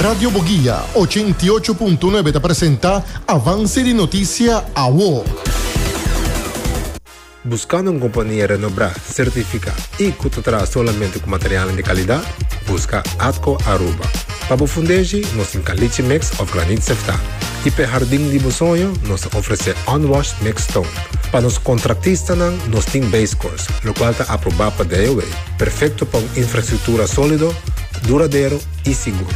Radio Boguia 88.9 ta presenta Avance di Noticia Awo. Buscando un compania renombra, certifica y cu ta traha solamente cu materialnan di calidad? Busca Atco Aruba. Pa bo fundeshi, nos tin caliche mix of granit seftá. Y p'e hardin di bo soño, nos ta ofrece unwashed mixed stone. Pa nos contractistanan, nos tin base course, locual ta aproba pa DOW, perfecto pa un infrastructura solido, duradero y sigur.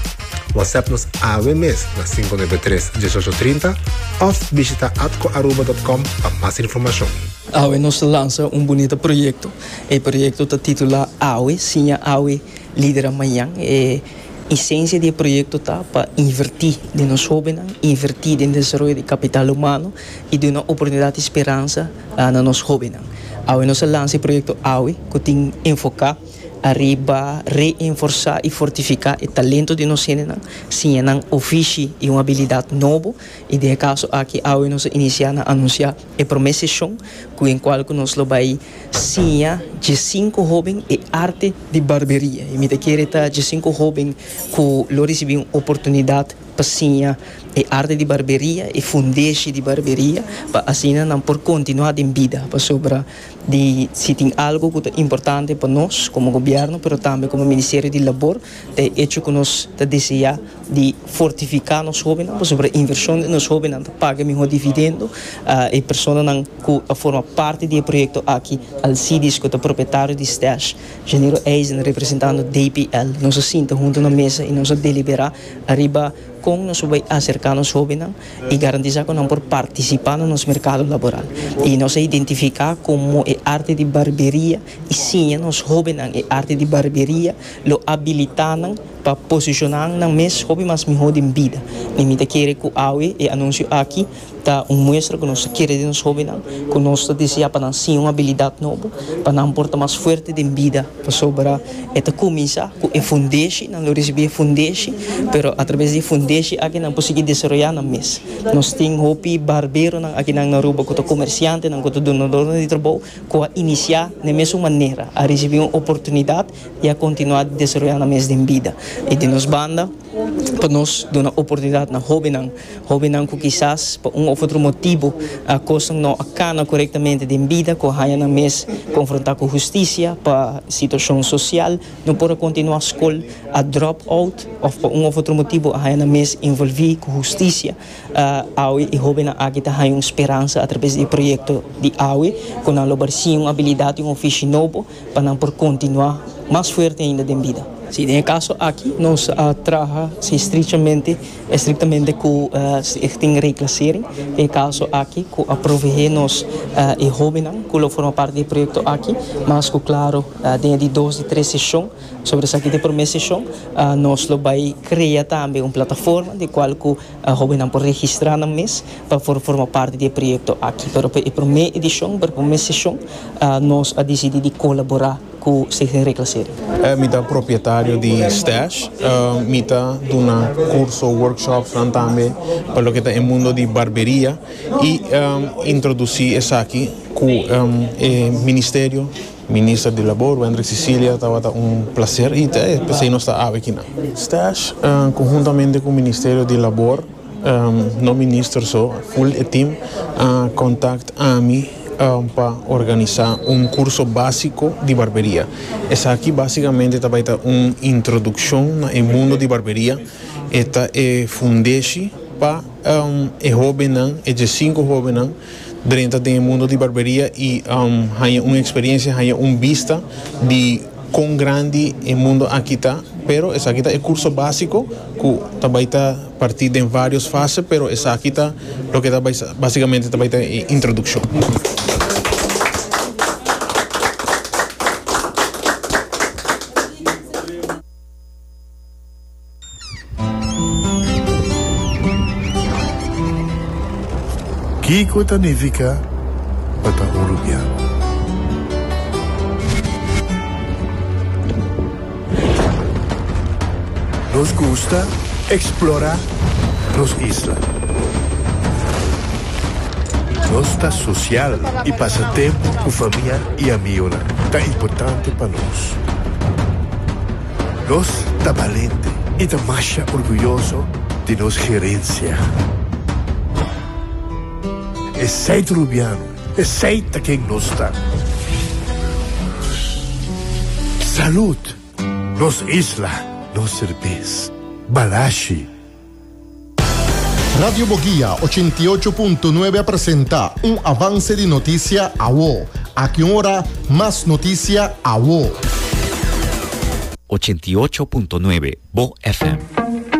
WhatsApp nos awe mes na 593 1830 of bishita atcoaruba.com pa mas informacion. Awe nos ta lansa un bunita proyecto. E proyecto ta titula Awe, Siña Awe, Lidera Mañan. E esencia di e proyecto ta pa inverti den nos hobennan, inverti den desaroyo di capital humano y duna oportunidad y speransa na nos hobennan. Awe nos a lansa e proyecto Awe cu tin enfoca ariba reenforsá i fortifiká e talento di nos hendenan, siña nan ofishi i un abilidat nobo, i den e kaso aki awe nos a inisiá na anunsiá e promé seshon ku en kual ku nos lo bai siña diesinku hóben e arte di barberia. I mi ta kere ta diesinku hóben ku lo risibí un oportunidat pa siña e arte di barberia, e fundeshi di barberia, pa asina nan por kontinuá den bida, pasobra di si tin algo cu ta importante pa nos como gobierno pero tambe como Ministerio di Labor ta e hecho cu nos ta desea di fortifica nos hobennan pasobra inversion den nos hobennan ta paga miho dividendo. E personanan cu a forma parti di e proyecto aki, Alcides cu ta propietario di Stash, Janiro Eisen representando DPL, nos a sinta hunto na mesa y nos a delibera ariba con nos por bay acerca nos hobennan. i garantisá ku nan por partisipá na nos merkado laboral. I nos a identifiká komo e arte di barberia i siña nos hóbennan e arte di barberia lo abilitá nan pa posishoná nan mes hopi mas mihó den bida. I mi ta kere ku awe e anunsio aki ta un muestra ku nos ta kere den nos hóbennan, ku nos ta deseá pa nan siña un abilidat nobo, pa nan por ta mas fuerte den bida. Pasobra e ta kuminsá ku e fundeshi, nan lo risibí e fundeshi, pero atraves di e fundeshi aki nan por sigui desaroyá nan mes. Nos tin hopi barberonan akinan na Aruba ku ta komersiantenan, ku ta dunadornan di trabou, ku a inisiá na e mesun manera, a risibí un oportunidat i a kontinuá di desaroyá nan mes den bida. I di nos banda, pa nos duna oportunidat na hóbennan, Hóbennan ku kisas pa un òf otro motibu kosnan no a kana korektamente den bida, ku a haña nan mes konfrontá ku hustisia pa situashon sosial, no por a kontinuá skol, a drop out òf pa un òf otro motibu a haña nan mes envolví ku hustisia. Awe e hóbennan aki ta haña un speransa atrabes di e proyekto di awe ku nan lo bar siña un abilidat i un ofishi nobo pa nan por kontinuá mas fuerte ainda den bida. Si, den e kaso aki nos a traha si estrechamente Estrictamente cu Stichting Reclassering, den e caso aki cu a proveé nos e hobennan cu lo forma parti di e proyecto aki. Mas cu claro den e di dos di tres sesion, sobre esaki ta e prome sesion, nos lo bay crea tambe un plataforma den cual cu hobennan por registra nan mes pa por forma parti di e proyecto aki. Pero pa e prome edicion, pa e prome sesion nos a dicidi di colabora. Ku Stichting Reclassering. Mi ta propietario di Stash. Mi ta duna kurso, workshopsnan tambe pa loke ta e mundo di barberia i introdusí esaki ku e ministerio, Minister di Labor, Wendrick Cicilia, tabata un plaser i p'esei nos ta awe kinan. Stash konhuntamente ku Ministerio di Labor. No minister so, full e team a contact ami pa organisa un curso basico di barberia. Esaki basicamente ta bay ta un introduccion na e mundo di barberia. E ta e fundeshi pa e hobennan, e diescinco hobennan drenta den e mundo di barberia y haña un experiencia, haña un bista di con grandi e mundo aki ta. Pero esaki ta e curso basico cu ta bay ta. Partí den vários fase, pero esaki ta loke ta bai básicamente ta bai ta e introdukshon. Kiko ta nifiká pa ta un rubiano? Nos gusta explora nos isla. Nos ta social y pasa tempo cu famia y amigonan ta importante pa nos. Nos ta balente. Y ta masha orguyoso di nos gerencia. Esey ta Rubiano, esey ta ken nos ta. Salud! Nos isla, nos serbes. Balashi. Radio Boguia 88.9 a presenta un avance di noticia awo. Aki un ora, mas noticia awo. 88.9 Bo FM.